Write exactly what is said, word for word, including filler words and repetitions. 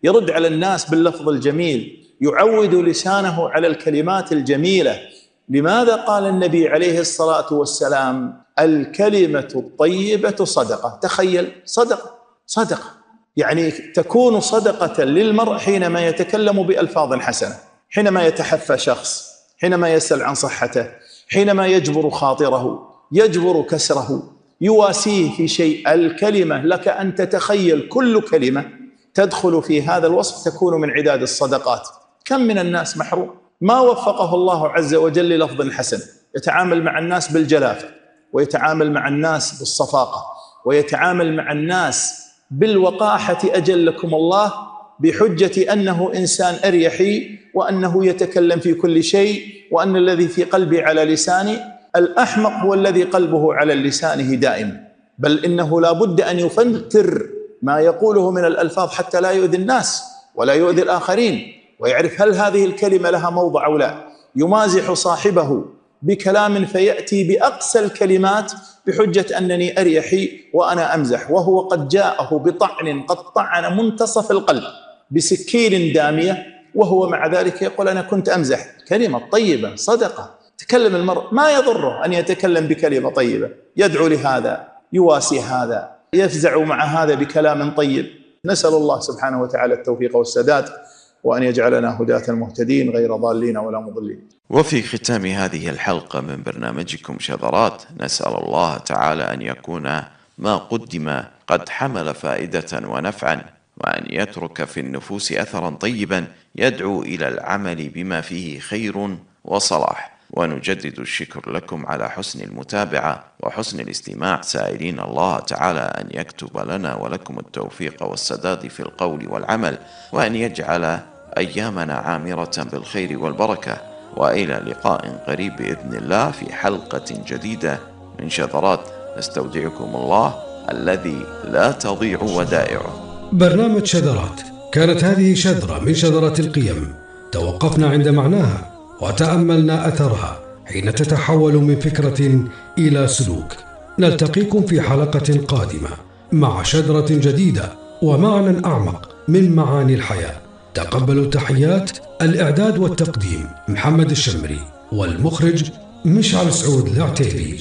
يرد على الناس باللفظ الجميل، يعود لسانه على الكلمات الجميلة. لماذا قال النبي عليه الصلاة والسلام الكلمة الطيبة صدقة؟ تخيل، صدقة صدقة يعني تكون صدقة للمرء حينما يتكلم بألفاظ حسنة، حينما يتحفى شخص، حينما يسأل عن صحته، حينما يجبر خاطره، يجبر كسره، يواسيه في شيء. الكلمة لك أن تتخيل كل كلمة تدخل في هذا الوصف تكون من عداد الصدقات. كم من الناس محروم ما وفقه الله عز وجل للفظ حسن، يتعامل مع الناس بالجلافة، ويتعامل مع الناس بالصفاقة، ويتعامل مع الناس بالوقاحة أجلكم الله، بحجة أنه إنسان أريحي، وأنه يتكلم في كل شيء، وأن الذي في قلبي على لساني. الأحمق هو الذي قلبه على لسانه دائما، بل إنه لا بد أن يفلتر ما يقوله من الألفاظ حتى لا يؤذي الناس ولا يؤذي الآخرين، ويعرف هل هذه الكلمة لها موضع أو لا. يمازح صاحبه بكلام فيأتي بأقسى الكلمات بحجة أنني أريحي وأنا أمزح، وهو قد جاءه بطعن قد طعن منتصف القلب بسكين دامية، وهو مع ذلك يقول أنا كنت أمزح. كلمة طيبة صدقة. تكلم المرء، ما يضره أن يتكلم بكلمة طيبة، يدعو لهذا، يواسي هذا، يفزع مع هذا بكلام طيب. نسأل الله سبحانه وتعالى التوفيق والسداد، وأن يجعلنا هداة المهتدين غير ضالين ولا مضلين. وفي ختام هذه الحلقة من برنامجكم شذرات، نسأل الله تعالى أن يكون ما قدم قد حمل فائدة ونفعا، وأن يترك في النفوس أثرا طيبا يدعو إلى العمل بما فيه خير وصلاح. ونجدد الشكر لكم على حسن المتابعة وحسن الاستماع، سائلين الله تعالى أن يكتب لنا ولكم التوفيق والسداد في القول والعمل، وأن يجعل أيامنا عامرة بالخير والبركة. وإلى لقاء قريب بإذن الله في حلقة جديدة من شذرات، نستودعكم الله الذي لا تضيع ودائعه. برنامج شذرات، كانت هذه شذرة من شذرات القيم، توقفنا عند معناها وتأملنا أثرها حين تتحول من فكرة إلى سلوك. نلتقيكم في حلقة قادمة مع شذرة جديدة ومعنى أعمق من معاني الحياة. تقبلوا تحيات الإعداد والتقديم محمد الشمري، والمخرج مشعل سعود العتيبي.